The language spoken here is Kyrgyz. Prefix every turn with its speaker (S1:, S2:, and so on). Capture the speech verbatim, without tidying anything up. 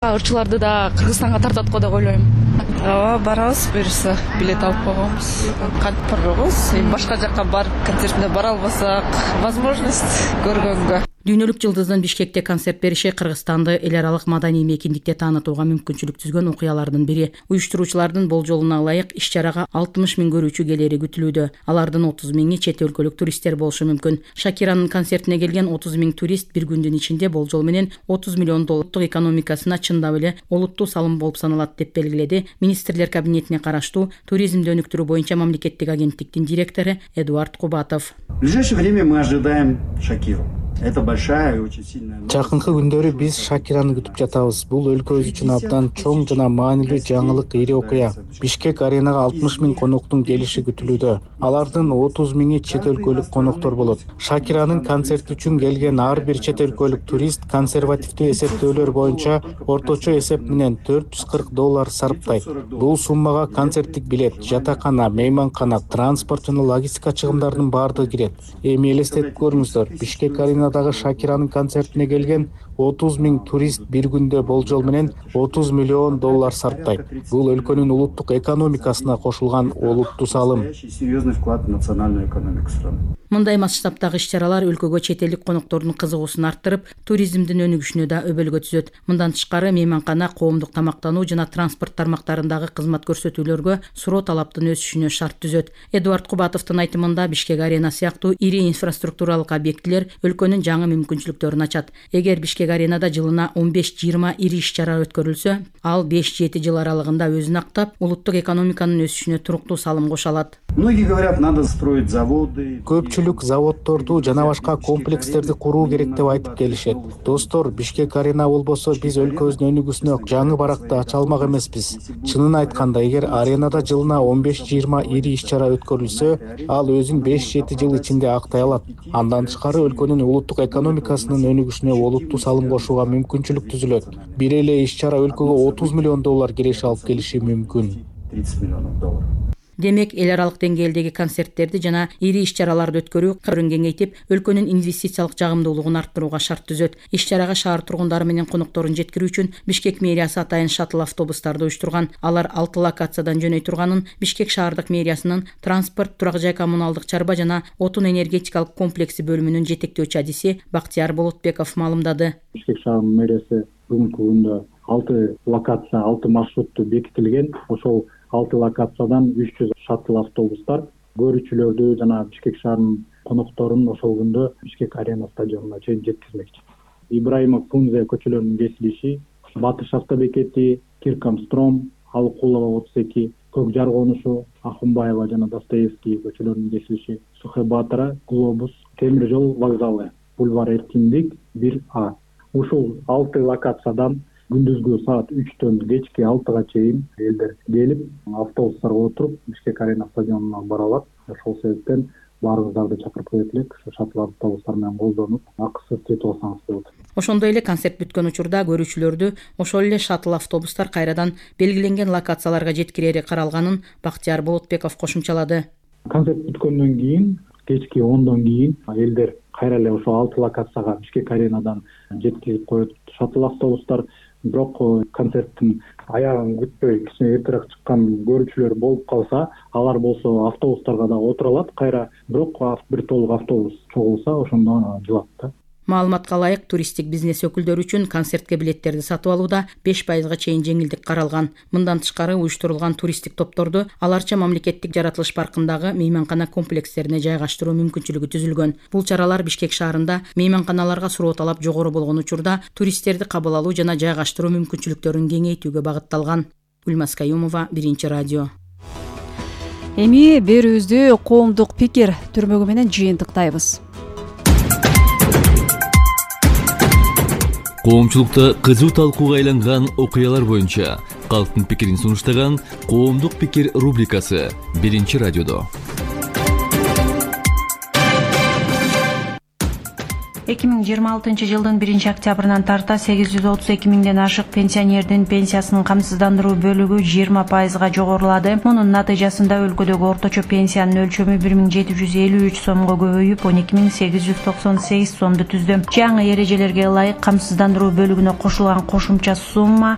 S1: ырчыларды да Кыргызстанга тартат го деп ойлойм.
S2: Ооба, барабыз, буюрса билет алып койгонбуз. Кантип барбайбыз? Эми башка жакка барып концертине бара албасак, возможность көргөнгө.
S3: Дүйнөлүк жылдыздын Бишкекте концерт бериши Кыргызстанды эл аралык маданий мейкиндикте таанытууга мүмкүнчүлүк түзгөн окуялардын бири. Уюштуруучулардын болжолуна ылайык иш-чарага алтымыш миң көрүүчү келери күтүлүүдө. Алардын отуз миңи чет өлкөлүк туристтер болушу мүмкүн. Шакиранын концертине келген отуз миң турист бир күндүн ичинде болжол менен отуз миллион доллардык экономикасына чындап эле олуттуу салым болуп саналат деп белгиледи Министрлер кабинетине караштуу туризмди өнүктүрүү боюнча мамлекеттик агенттиктин директору Эдуард Кубатов.
S4: В ближайшее время мы ожидаем Шакиру. Это большая и очень сильная.
S5: Жакынкы күндөрү биз Шакираны күтүп жатабыз. Бул өлкөбүз үчүн абдан чоң жана маанилүү жаңылык, ири окуя. Бишкек аренага алтымыш миң коноктун келиши күтүлүүдө. Алардын отуз миңи чет өлкөлүк коноктор болот. Шакиранын концерти үчүн келген ар бир чет өлкөлүк турист консервативдүү эсептөөлөр боюнча орточо эсеп менен төрт жүз кырк доллар сарптайт. Бул суммага концерттик билет, жатакана, мейманкана, транспорт жана логистика чыгымдарынын баардыгы кирет. Эми элестетип көрүңүздөр, Бишкек арена дагы Шакиранын концертине келген отуз миң турист бир күндө болжол менен отуз миллион доллар сарптайт. Бул өлкөнүн улуттук экономикасына кошулган олуттуу салым.
S4: Серьезный вклад в национальную экономику страны.
S3: Мындай масштабтагы иш-чаралар өлкөгө чет элдик коноктордун кызыгуусун арттырып, туризмдин өнүгүшүнө да өбөлгө түзөт. Мындан тышкары мейманкана, коомдук тамактануу жана транспорт тармактарындагы кызмат көрсөтүүлөргө суроо талаптын өсүшүнө шарт түзөт. Эдуард Кубатовдун айтымында Бишкек арена сыяктуу ири инфраструктуралык объектилер өлкөнүн жаңы мүмкүнчүлүктөрүн ачат. Эгер Бишкек аренада жылына он беш жыйырма ири иш-чара өткөрүлсө, ал беш жети жыл аралыгында өзүн актап, улуттук экономиканын өсүшүнө туруктуу салым кошо алат.
S4: Многие говорят, надо строить заводы.
S5: Көпчүлүк заводдорду жана башка комплекстерди куруу керек деп айтып келишет. Достор, Бишкек арена болбосо биз өлкөбүздүн өнүгүүсүнө жаңы баракты ача алмак эмеспиз. Чынын айтканда, эгер аренада жылына он беш жыйырма ири иш-чара өткөрүлсө, ал өзүн беш жети жыл ичинде актай алат. Андан тышкары өлкөнүн улуттук экономикасынын өнүгүшүнө олуттуу салым кошууга мүмкүнчүлүк түзүлөт. Бир эле иш-чара өлкөгө отуз миллион доллар киреше алып келиши мүмкүн.
S4: тридцать миллионов долларов.
S3: Демек, эл аралык деңгээлдеги концерттерди жана ири иш-чараларды өткөрүү кырын кеңейтип, өлкөнүн инвестициялык жагымдуулугун арттырууга шарт түзөт. Иш-чарага шаар тургундары менен конокторун жеткирүү үчүн Бишкек мэриясы атайын шаттл автобустарды уюштурган. Алар алты локациядан жөнөй турганын Бишкек шаардык мэриясынын транспорт, турак жай коммуналдык чарба жана отун энергетикалык комплекси бөлүмүнүн жетектөөчү адиси Бактияр Болотбеков маалымдады.
S6: Бишкек шаарынын мэриясы бүгүнкү күндө алты локация, алты маршрутту бекитилген. Ошол алты локациядан үч жүз шаттл автобустар көрүүчүлөрдү жана Бишкек шаарынын конокторун ошол күндө Бишкек арена стадионуна чейин жеткизмекчи. Ибраимов Фрунзе көчөлөрүнүн кесилиши, Батыш автобекети, Киркамстром, Алыкулова отуз эки, Көк Жар конушу, Ахунбаева жана Достоевский көчөлөрүнүн кесилиши, Сухебатора, Глобус, темир жол вокзалы, бульвар Эркиндик бир А. Ушул алты локациядан күндүзгү саат үчтөн кечки алтыга чейин элдер келип, автобустарга отуруп Бишкек арена стадионуна бара алат. Ошол себептен баарыңыздарды чакырып коет элек, шаттл автобустар менен колдонуп, акысыз жетип алсаңыз болот.
S3: Ошондой эле концерт бүткөн учурда көрүүчүлөрдү ошол эле шаттл автобустар кайрадан белгиленген локацияларга жеткирери каралганын Бактияр Болотбеков кошумчалады.
S6: Концерт бүткөндөн кийин, кечки ондон кийин элдер кайра эле ошол алты локацияга Бишкек аренадан жеткирип коет шаттл автобустар. Бирок концерттин аягын күтпөй кичине эртерээк чыккан көрүүчүлөр болуп калса, алар болсо автобустарга да отура алат. Кайра бирок бир толук автобус чогулса, ошондо жылат да.
S3: Маалыматка ылайык, туристтик бизнес өкүлдөрү үчүн концертке билеттерди сатып алууда беш пайызга чейин жеңилдик каралган. Мындан тышкары уюштурулган туристтик топторду аларча мамлекеттик жаратылыш паркындагы мейманкана комплекстерине жайгаштыруу мүмкүнчүлүгү түзүлгөн. Бул чаралар Бишкек шаарында мейманканаларга суроо талап жогору болгон учурда туристтерди кабыл алуу жана жайгаштыруу мүмкүнчүлүктөрүн кеңейтүүгө багытталган. Гүлмаз Каюмова, Биринчи радио.
S7: Эми берүүбүздү коомдук пикир түрмөгү менен жыйынтыктайбыз.
S8: Коомчулукта кызуу талкууга айланган окуялар боюнча калктын пикирин сунуштаган Коомдук пикир рубрикасы Биринчи радиодо.
S9: эки миң жыйырма алтынчы жылдын биринчи октябрынан тарта сегиз жүз отуз эки миңден ашык пенсионердин пенсиясынын камсыздандыруу бөлүгү жыйырма пайызга жогорулады. Мунун натыйжасында өлкөдөгү орточо пенсиянын өлчөмү бир миң жети жүз элүү үч сомго көбөйүп, он эки миң сегиз жүз токсон сегиз сомду түздү. Жаңы эрежелерге ылайык камсыздандыруу бөлүгүнө кошулган кошумча сумма